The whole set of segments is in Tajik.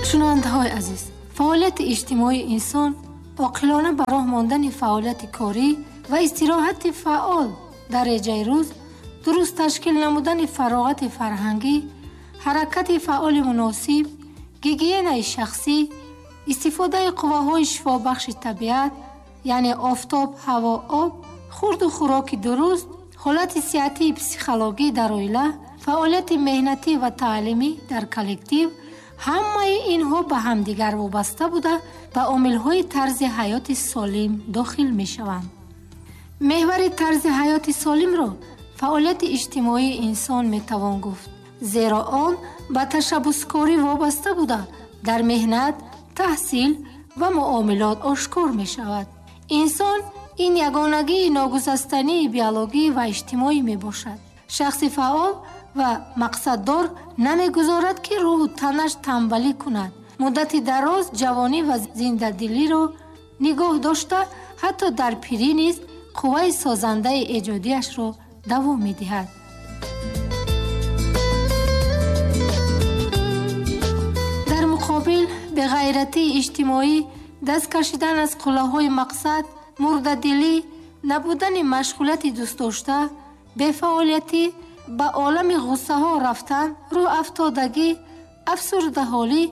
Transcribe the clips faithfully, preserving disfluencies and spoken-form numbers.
Шунавандаҳои азиз, фаъолияти иҷтимоии инсон оқилона ба роҳ мондани фаъолияти корӣ ва истироҳати фаъол дар реҷаи рӯз, дуруст ташкил намудани фароғати фарҳангӣ, ҳаракати фаъоли муносиб, гигиенаи шахсӣ, истифодаи қувваҳои шифобахши табиат, яъне офтоб, ҳаво, об, хурду хӯроки дуруст, ҳолати сиҳатии психологӣ дар оила, фаъолияти меҳнатӣ ва таълимӣ дар коллектив, ҳамаи инҳо ба ҳамдигар вобаста буда ба омилҳои тарзи ҳаёти солим дохил мешаванд. Меҳвари тарзи ҳаёти солимро фаъолияти иҷтимоии инсон метавон гуфт, зеро он ба ташаббускорӣ вобаста буда дар меҳнат, таҳсил ва муомилот ошкор мешавад. Инсон ин ягонагии ногусастании биологӣ ва иҷтимоӣ мебошад. Шахси фаъол ва мақсаддор намегузорад, ки рӯҳу танаш тамбалӣ кунад. Муддати дароз ҷавонӣ ва зиндадилиро нигоҳ дошта, ҳатто дар пирӣ низ қувваи созандаи эҷодиашро давом медиҳад. Дар муқобил беғайратии иҷтимоӣ, даст кашидан аз қуллаҳои мақсад, мурдадилӣ, набудани машғулияти дӯстдошта, бефаъолиятӣ, ба олами ғуссаҳо рафтан, рӯҳафтодагӣ, афсурдаҳолӣ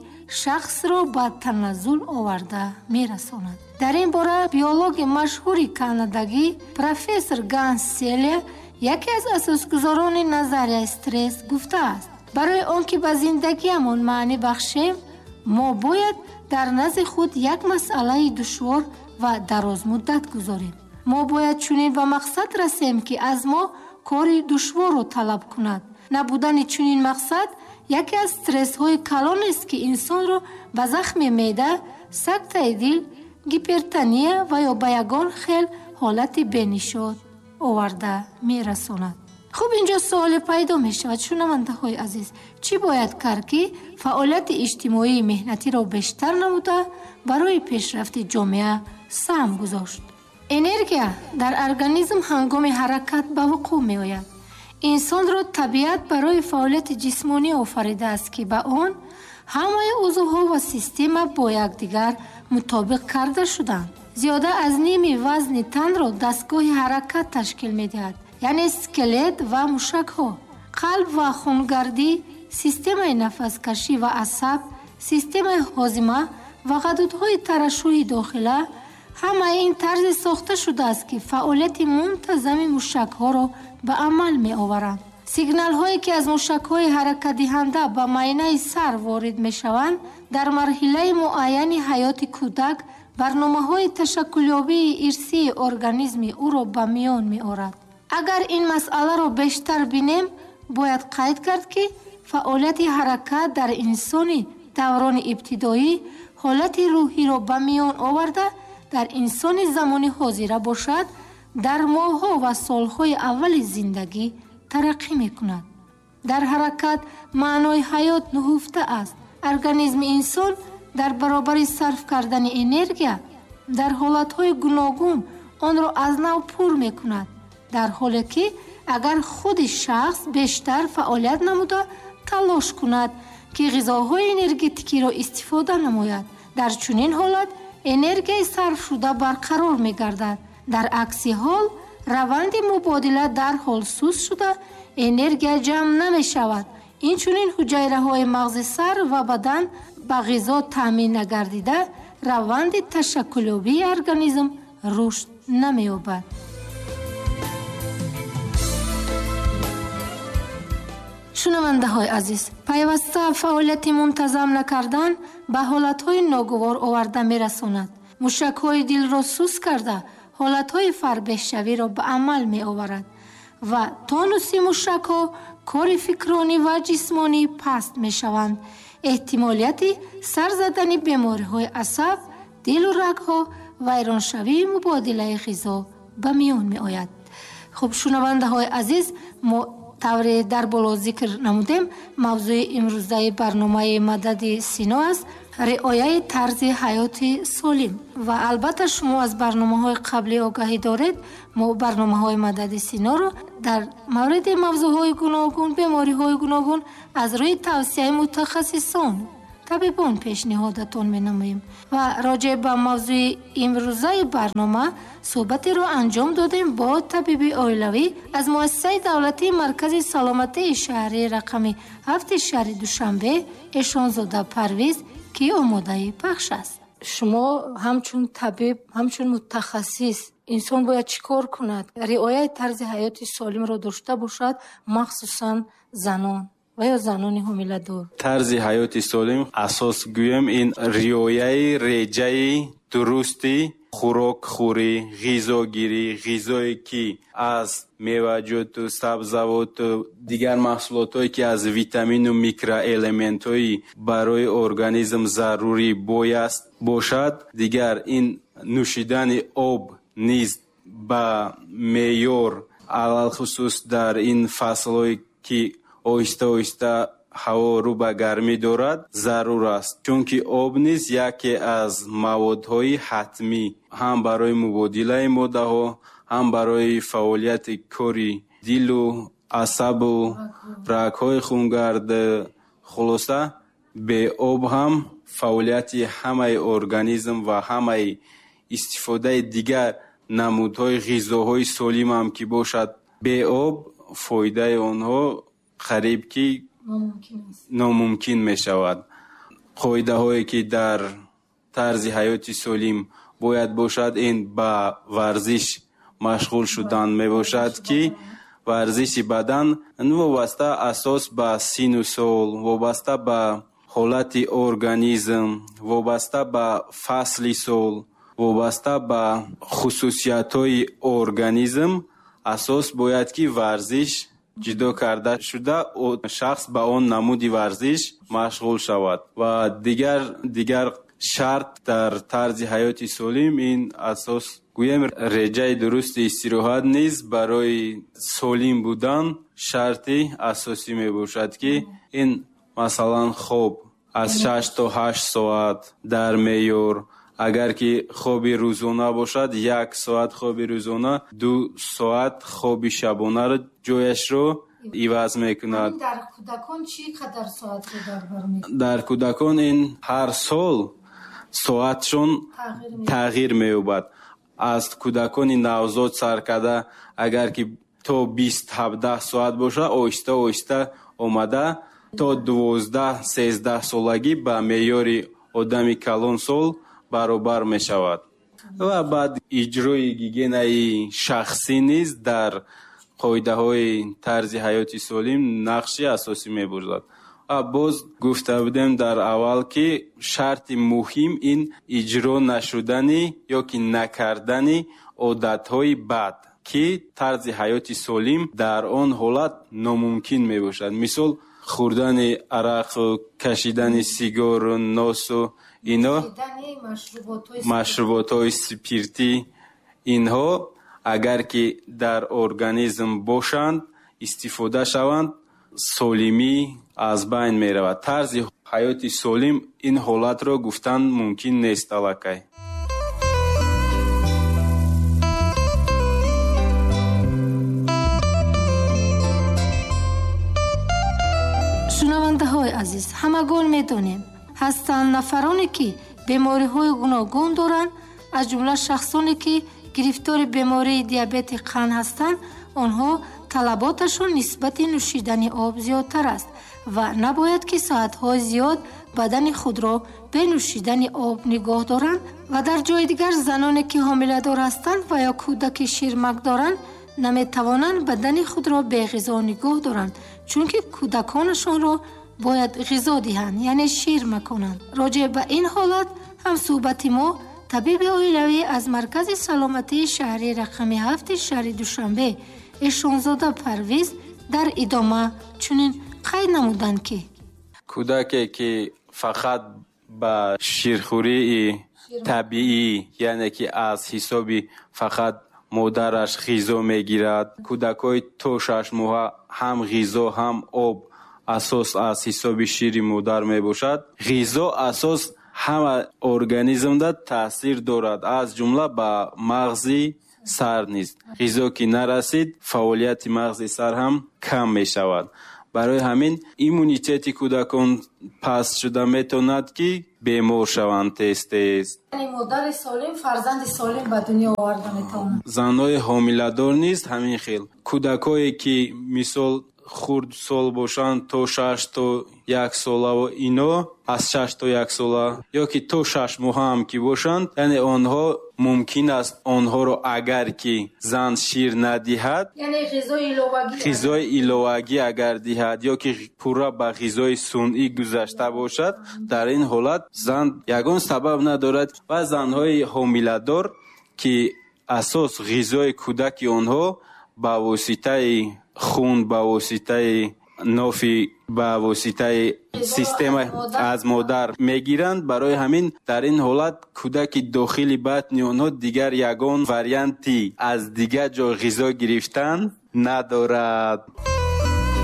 шахсро ба таназзул оварда мерасонад. Дар ин бора биологи машҳури канадагӣ профессор Ганс Селия, яке аз асосгузорони назарияи стресс, гуфтааст: барои он ки ба зиндагиамон маънӣ бахшем, мо бояд дар назди худ як масъалаи душвор ва дарозмуддат гузорем. Мо бояд чунин ба мақсад расем, ки аз мо кори душворро талаб кунад. Набудани чунин мақсад яке аз стрессҳои калонест, ки инсонро ба захми меъда, сактаи дил, гипертония ва ё ба ягон хел ҳолати бенишод оварда мерасонад. Хуб, инҷо суоле пайдо мешавад, шунавандаҳои азиз, чӣ бояд кард, ки фаъолияти иҷтимоии меҳнатиро бештар намуда барои пешрафти ҷомеа саҳм гузошт? Энергия дар организм ҳангоми ҳаракат ба вуқӯъ меояд. Инсонро табиат барои фаъолияти ҷисмонӣ офаридааст, ки ба он ҳамаи узвҳо ва система бо якдигар мутобиқ карда шуданд. Зиёда аз ними вазни танро дастгоҳи ҳаракат ташкил медиҳад, яъне скелет ва мушакҳо. Қалб ва хунгардӣ, системаи нафаскашӣ ва асаб, системаи ҳозима ва ғадудҳои тарашшуҳи дохила, ҳамаи ин тарзе сохта шудааст, ки фаъолияти мунтазами мушакҳоро ба амал меоваранд. Сигналҳое, ки аз мушакҳои ҳаракатдиҳанда ба майнаи сар ворид мешаванд, дар марҳилаи муайяни ҳаёти кӯдак барномаҳои ташаккулёбии ирсии организми ӯро ба миён меорад. Агар ин масъаларо бештар бинем, бояд қайд кард, ки фаъолияти ҳаракат дар инсони даврони ибтидоӣ ҳолати рӯҳиро ба миён оварда, дар инсони замони ҳозира бошад, дар моҳҳо ва солҳои аввали зиндагӣ тараққӣ мекунад. Дар ҳаракат маънои ҳаёт нуҳуфта аст. Организми инсон дар баробари сарф кардани энергия дар ҳолатҳои гуногун онро аз нав пур мекунад, дар ҳоле ки агар худи шахс бештар фаъолият намуда талош кунад, ки ғизоҳои энергетикиро истифода намояд, дар чунин ҳолат энергияи сарфшуда барқарор мегардад. Дар акси ҳол раванди мубодила дарҳол суст шуда, энергия ҷамъ намешавад. Инчунин ҳуҷайраҳои мағзи сар ва бадан ба ғизо таъмин нагардида, раванди ташаккулёбии организм рушд намеёбад. Шунавандаҳои азиз, пайваста фаъолияти мунтазам накардан ба ҳолатҳои ногувор оварда мерасонад. Мушакҳои дилро суст карда, ҳолатҳои фарбеҳшавиро ба амал меоварад ва тонуси мушакҳо, кори фикронӣ ва ҷисмонӣ паст мешаванд. Эҳтимолияти сар задани бемориҳои асаб, дилу рагҳо, вайроншавии мубодилаи ғизо ба миён меояд. Хуб, шунавандаҳои азиз, мо тавре дар боло зикр намудем, мавзӯи имрӯзаи барномаи Мадади Сино аст риояи тарзи ҳаёти солим. Ва албатта шумо аз барномаҳои қаблӣ огаҳӣ доред. Мо барномаҳои Мадади Синоро дар мавриди мавзӯъҳои гуногун, бемориҳои гуногун аз рӯи тавсияи мутахассисон табибон пешниҳодатон менамоем ва роҷеъ ба мавзӯи имрӯзаи барнома суҳбатеро анҷом додем бо табиби оилавӣ аз муассисаи давлатии Маркази саломатии шаҳрии рақами ҳафти шаҳри Душанбе Эшонзода Парвиз, ки омодаи пахш аст. Шумо ҳамчун табиб, ҳамчун мутахассис, инсон бояд чӣ кор кунад? Риояи тарзи ҳаёти солимро дошта бошад, махсусан занон ва ё занони ҳомиладор. Тарзи ҳаёти солим асос гӯем ин риояи реҷаи дурусти хӯрокхӯрӣ, ғизогирӣ, ғизое ки аз меваҷоту сабзавоту дигар маҳсулотҳое ки аз витамину микроэлементҳои барои организм зарурӣ бояст бошад. Дигар ин нӯшидани об низ ба меъёр, алалхусус дар ин фаслҳое ки оҳиста-оҳиста ҳаво рӯ ба гармӣ дорад, зарур аст, чунки об низ яке аз маводҳои ҳатмӣ ҳам барои мубодилаи моддаҳо, ҳам барои фаъолияти кори дилу асабу рагҳои хунгард. Хулоса, бе об ҳам фаъолияти ҳамаи организм ва ҳамаи истифодаи дигар намудҳои ғизоҳои солим ҳам ки бошад, бе об фоидаи онҳо қариб ки номумкин мешавад. Қоидаҳое ки дар тарзи ҳаёти солим бояд бошад, ин ба варзиш машғул шудан мебошад, ки варзиши бадан вобаста асос ба сину сол, вобаста ба ҳолати организм, вобаста ба фасли сол, вобаста ба хусусиятҳои организм асос бояд ки варзиш ҷудо карда шуда, шахс ба он намуди варзиш машғул шавад. Ва дигар, дигар шарт дар тарзи ҳаёти солим ин асос гӯем реҷаи дурусти истироҳат низ барои солим будан шарти асосӣ мебошад, ки ин масалан хоб аз шаш то ҳашт соат дар меъёр. Агар ки хоби рӯзона бошад, як соат хоби рӯзона ду соат хоби шабонаро ҷояшро иваз мекунад. Дар кӯдакон чӣ қадар соатро дар бар мегирад? Дар кӯдакон ин ҳар сол соатшон тағйир меёбад. Аз кӯдакони навзод сар карда, агар ки то бист ҳабдаҳ соат бошад, оҳиста оҳиста омада то дувоздаҳ сездаҳ солагӣ ба меъёри одами калонсол баробар мешавад. Ва баъд иҷрои гигиенаи шахсӣ низ дар қоидаҳои тарзи ҳаёти солим нақши асосӣ мебозад. Ва боз гуфта будем дар аввал, ки шарти муҳим ин иҷро нашудани ё ки накардани одатҳои бад, ки тарзи ҳаёти солим дар он ҳолат номумкин мебошад. Мисол, хӯрдани арақу кашидани сигору носу ино машруботҳои спиртӣ, инҳо агар ки дар организм бошанд, истифода шаванд, солимӣ аз байн меравад. Тарзи ҳаёти солим ин ҳолатро гуфтан мумкин нест аллакай. Шунавандаҳои азиз, ҳамагон медонем, ҳастанд нафароне ки бемориҳои гуногун доранд, аз ҷумла шахсоне ки гирифтори бемории диабети қанд ҳастанд. Онҳо талаботашон нисбати нӯшидани об зиёдтар аст ва набояд ки соатҳои зиёд бадани худро бе нӯшидани об нигоҳ доранд. Ва дар ҷои дигар заноне ки ҳомиладор ҳастанд ва ё кӯдаки ширмак доранд, наметавонанд бадани худро беғизо нигоҳ доранд, чунки кӯдаконашонро бояд ғизо диҳанд, яъне шир маконанд. Роҷеъ ба ин ҳолат ҳамсӯҳбати мо табиби оилавӣ аз Маркази саломатии шаҳри рақами ҳафти шаҳри Душанбе Эшонзода Парвиз дар идома чунин қайд намуданд, ки кӯдаке ки фақат ба ширхӯрии табиӣ, яъне ки аз ҳисоби фақат модараш ғизо мегирад, кӯдакҳои то шаш моҳа ҳам ғизо ҳам об асос аз ҳисоби шири модар мебошад. Ғизо асос ҳама организмда таъсир дорад, аз ҷумла ба мағзи сар низ. Ғизо ки нарасид, фаъолияти мағзи сар ҳам кам мешавад. Барои ҳамин иммунитети кӯдакон паст шуда метавонад, ки бемор шаванд тез-тез. Яъне модари солим фарзанди солим ба дунё оварда метавонад. Занҳои ҳомиладор низ ҳамин хел. Кӯдакое ки мисол хурдсол бошанд, то шаш то як сола, ино аз шаш то як сола ё ки то шаш моҳа ҳам ки бошанд, яъне онҳо мумкин аст онҳоро агар ки зан шир надиҳад, яъне ғизои иловагӣ, ғизои иловагӣ агар диҳад ё ки пурра ба ғизои сунъӣ гузашта бошад, дар ин ҳолат зан ягон сабаб надорад. Ва занҳои ҳомиладор ки асос ғизои кӯдаки онҳо ба воситаи хун, ба воситаи нофи, ба воситаи система аз модар мегиранд, барои ҳамин дар ин ҳолат кӯдаки дохили батни онҳо дигар ягон варианти аз дигар ҷо ғизо гирифтан надорад.